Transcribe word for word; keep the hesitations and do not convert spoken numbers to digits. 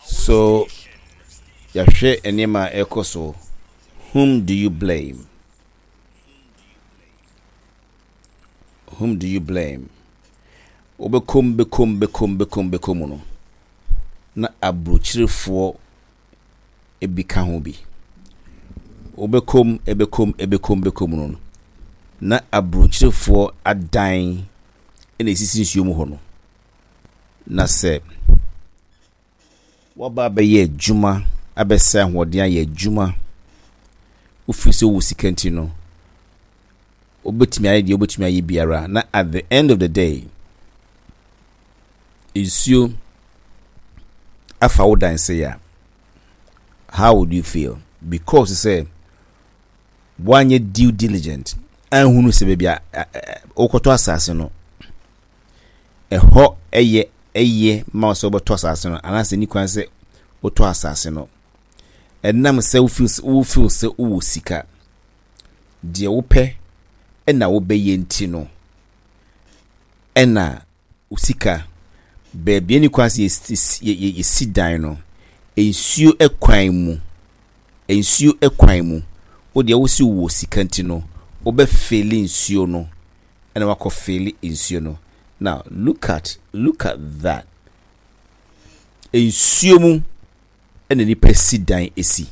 So yɛahwɛ nneɛma a ɛrekɔ so. Whom do you blame? Whom do you blame? Wobɛkɔm bɛkɔm bɛkɔm bɛkɔm bɛkɔm no, na aburokyirefoɔ bi ka ho bi. Wobɛkɔm ɛbɛkɔm ɛbɛkɔm bɛkɔm no, na aburokyirefoɔ adan na esisi nsuo mu hɔ no. Na sɛ waba abɛyɛ adwuma, abɛsɛ ahoɔden ayɛ adwuma, wofiri sɛ wowɔ sika nti no, wobɛtumi ayɛ deɛ wobɛtumi ayɛ biara, na at the end of the day nsuo afa wo dan sɛ a, how would you feel? Because sɛ woanyɛ due diligent anhunu sɛ baabi a wokɔtɔ asase no, ɛhɔ ɛyɛ ɛyɛ ma wo sɛ wobɛtɔ asase no anaasɛ ni kwan sɛ wotɔ asase no. Ɛnam sɛ wofeel wofeel sɛ wowɔ sika, deɛ wopɛ ɛna wobɛyɛ nti no, ɛna wo sika baabi ani kwan sɛ yɛsi dan no, nsuo kwan mu, nsuo kwan mu, wo deɛ wosi wɔ sika nti no, wobɛfill nsuo no, ɛna wakɔ fill nsuo no. Now look at look at that. Nsuo mu ɛna nipa si dan esi.